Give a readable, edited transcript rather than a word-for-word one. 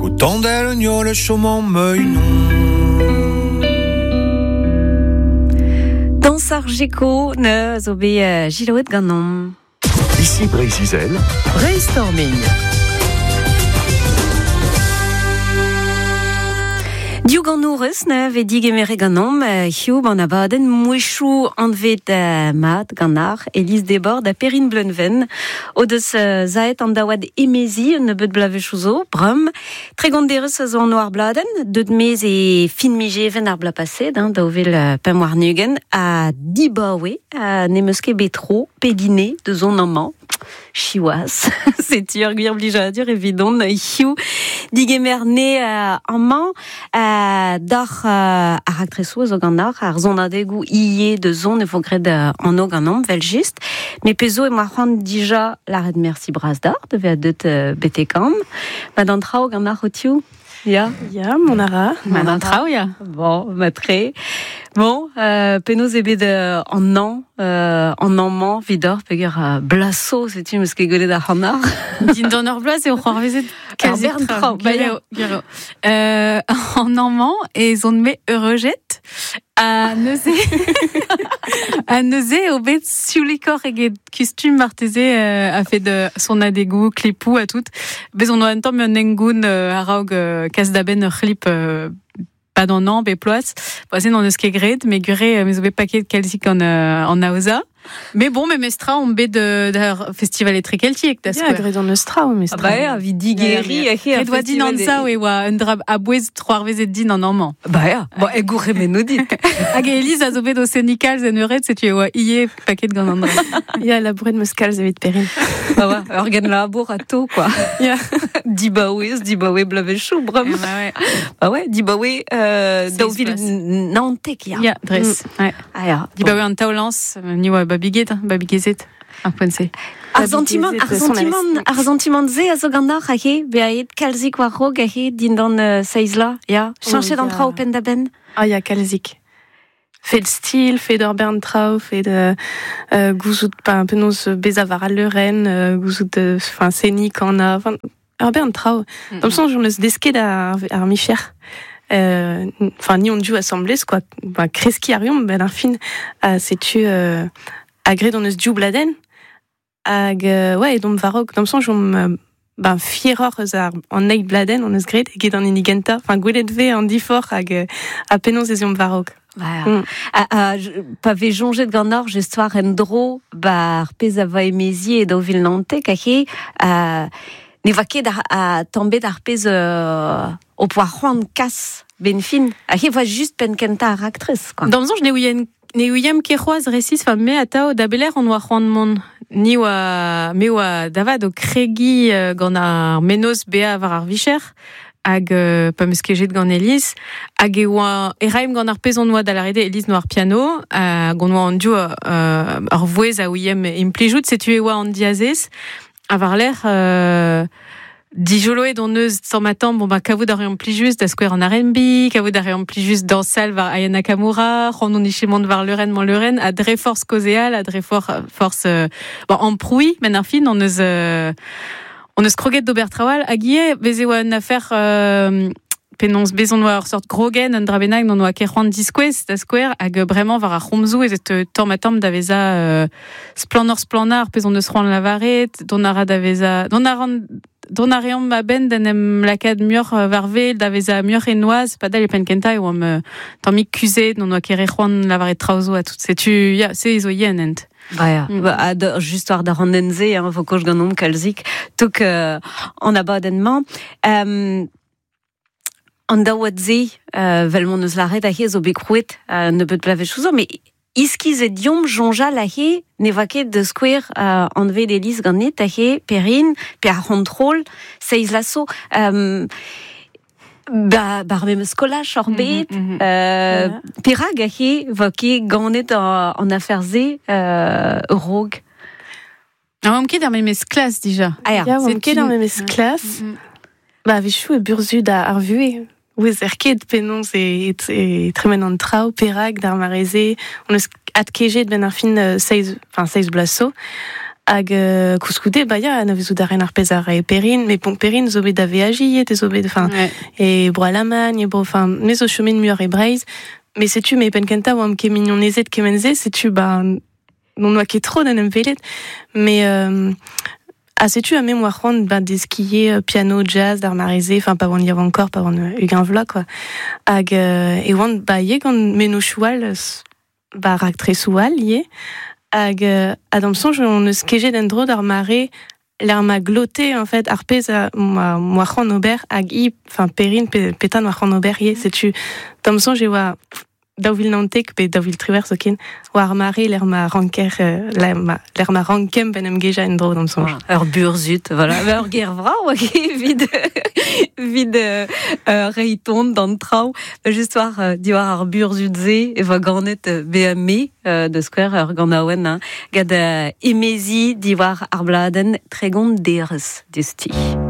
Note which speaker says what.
Speaker 1: Kotandel un chomant meunon.
Speaker 2: Dans ar Geko ne zo bet giloet ganom.
Speaker 3: Ici Breizh-Izel.
Speaker 4: Brainstorming.
Speaker 2: Diou ganourez ne ve digemere ganom hiu ban abadenn mouechou anvet mat ganar Elise Desbordes a Perrine Bleunven o deus zaet an daouad emezi un nebeut blavechouzo brum tregonderez a zo an oar bladen deut mez e fin mijeven ar bla paset hein, daouvel pemp nugen a dibaoe a nemeus ket betro pedine de zon amañ Chiwaz, setu ur gwir blijadur evidon hiu digemer ne amañ d'ar ar aktresoù zo gant ar ar zonadegou ie de zon e vo graet an og an am, vel just. Me pezo e moa c'hoant dija lâret merci bras d'ar, de ve a deut betekam. Ma d'an traoù gant ar otiou. Ya.
Speaker 5: Ya, mon ara.
Speaker 6: Ma d'an traoù, ya.
Speaker 2: Bon, ma tre. Bon, penaos eo bet an an, an amañ vidor peger blaso, setu meus ket gwelet ar c'hannar.
Speaker 6: Dindan ur bloaz eo c'hoarvezet
Speaker 2: kazi traoù.
Speaker 6: Ba ya. Gwir eo. An amañ ez on me eureujet ha neuze ha neuze eo bet sioulikoc'h eget kustum marteze a-fet sonadegoù, klipoù ha tout. Bez on oa un tamm un hengoun a-raok kas da benn ur c'hlip pas d'an an, be ploaz. Bon, se n'on eus ket graet, me gure me zo bet paket kalzik an, an aoza. Mais bon, me mestra on bet d'ar festival etrekeltiek, da
Speaker 5: Ya,
Speaker 6: skouer.
Speaker 5: graet an eus traoù, mestra.
Speaker 2: Ah bah ya, vi digeri a
Speaker 6: Ret oa din an sao e oa un dra a-bouez troarvezet din an amañ.
Speaker 2: Bah ya, bon, e gourc'hemennoù dit.
Speaker 6: Hag Elise a zo bet o senikal en eured, setu e oa ie paket gant an dra.
Speaker 5: Ya, labouret meus kalz evit Perrine.
Speaker 2: Bah ouais, ur gen labour a to, quoi.
Speaker 5: Ya.
Speaker 2: Dibaouez, dibaoue blavechoù, bram.
Speaker 6: Eh bah ouais.
Speaker 2: Bah ouais, dibaoue daou vil
Speaker 6: bloaz.
Speaker 2: naontek, ya.
Speaker 6: Ya, dres. Ouais.
Speaker 2: Ah ya.
Speaker 6: Dibaoue an taolans, ni oa babiget, hein, babigezet, ar poent-se.
Speaker 2: Ar sentiment, ar
Speaker 5: Babigezet, son
Speaker 2: sentiment, ar sentiment ze a zo gant ar ahe, beaet kalzik war rog ahe dindan seizla, ya. Chanchet an
Speaker 5: ya.
Speaker 2: traoù penn da benn.
Speaker 5: Ah ya, kalzik. Fet stil, fet ur bern traoù, fet gouzout pa penaos bezañ war al leurenn, gouzout enfin seni kana, enfin ur bern traoù. D'am soñj on eus desket ar, ar micher. Enfin ni on diou assemblés quoi, ba kreski ar yomp ben ar fin ha setu a graet on eus diou bladenn hag ouais edomp warok d'am soñj omp ben fieroc'h eus ar an eil bladenn on eus graet eget an hini gentañ, enfin gwelet vez an diforc'h hag ha penaos ez eomp warok.
Speaker 2: Bah,
Speaker 5: Mm.
Speaker 2: a, a, pa vez jonjet gant ar jestoar en dro ba ar pezh a va emezi e daou vil naontek ahe ne va ket a tambet ar pezh o poa c'hoant kas ben fin. Ahe va just penn kentañ ar aktrez, quoi.
Speaker 6: D'am soñj ne ouien ne ouiemp ket c'hoazh resis, enfin me atao da beler on oa c'hoant mont. Ni oa me oa davad o kregi gant ar menoz bea war ar vicher hag pa meus kejet gant Elise hag e oa e raemp gant ar pezh on oa da lâret Elise noa ar piano hag on oa an div ur vouezh a ouiemp implijout, setu e oa an diazez ha war lerc'h dijoloet on eus tamm ha tamm, bon ba kavout a reomp plijus da skouer an R&B, kavout a reomp plijus dansal war Aya Nakamura, c'hoant on iche mont war leurenn man leurenn, ha dre forzh kaozeal, ha dre forzh bon, amprouiñ, men ar fin, on eus kroget d'ober trawal, hag ivez, bez e oa un affaire penaos bez on oa ur sort grogen, un dra bennak, n'on oa ket c'hoant diskouez da skouer, hag bremañ war ar c'homzoù ez et tamm ha tamm da vezañ splannoc'h splannañ ar pezh on eus c'hoant lavaret, dont a ra da vezañ, dont a ran dont a reomp a-benn d'en em lakaat muioc'h war wel, da vezañ muioc'h e noazh, padal e penn kentañ e oamp tammig kuzhet, n'on oa ket re c'hoant lavaret traoù zo ha tout. Setu, ya, se zo yen hent.
Speaker 2: Bah ya,
Speaker 6: Mm.
Speaker 2: ba, ha da, just war da ran-se, hein, vo koch ganeomp kalzik, tok an abadenn-mañ. An daouad se, vel m'on eus lâret ahe zo bet krouet nebeut blavezhioù zo, mais iskiz e diomp soñjal ahe ne va ket de skouer anvet Elise ganit ahe Perrine, pe ar c'hontrol, seiz lasso. Ba, bar memes skolaj hor bet, perak ahe va ket ganet an afer se rog.
Speaker 6: Ah, oamp ket ar memes klas dija.
Speaker 2: Ah ya.
Speaker 5: Ya, oamp
Speaker 6: C'est
Speaker 5: ket ar
Speaker 6: une-
Speaker 5: memes klas. Ba, a-wechoù e burzhud ar vuhez. Ouez er ket penaos e tremen an traoù, perak d'ar mareze. On eus adkejet ben ar fin seiz, enfin, seiz bloaz zo. Hag koulskoude, ba ya, anavezout a ren ar pezh a rae Perrine, met bon, Perrine zo bet da veajiñ ivez, zo bet, enfin, e bro Alamagn, e bro, enfin, me zo chomet muioc'h e Breizh, met setu, me penn kentañ oamp ket mignonezed kement-se, setu, ba, n'on oa ket tro d'en em welet, mais ha setu ha me 'moa c'hoant ba deskiñ ivez piano jazz d'ar mare-se, enfin, pa oan yaouankoc'h, pa oan 20 vloaz, quoi. Hag e oan ba ivez gant mennozhioù all, ba raktresoù all ivez. Hag ha d'am soñj hon eus kejet en-dro d'ar mare lec'h ma glote en fait ar pezh a moa c'hoant ober hag hi, enfin Perrine petra noa c'hoant ober ivez. Setu d'am soñj e oa 2019 pe 2018 zoken war ar mare lec'h ma ranker lec'h ma rankemp en em gejañ en-dro d'am soñj.
Speaker 2: Ur burzhud, voilà. Ur ger vrav evit evit reiñ ton d'an traoù. Just war diwar ar burzhud-se e voa ganet bezañ me da skouer ur ganaouenn hein, gant emezi diwar ar bladenn 30 derez diouzhtu.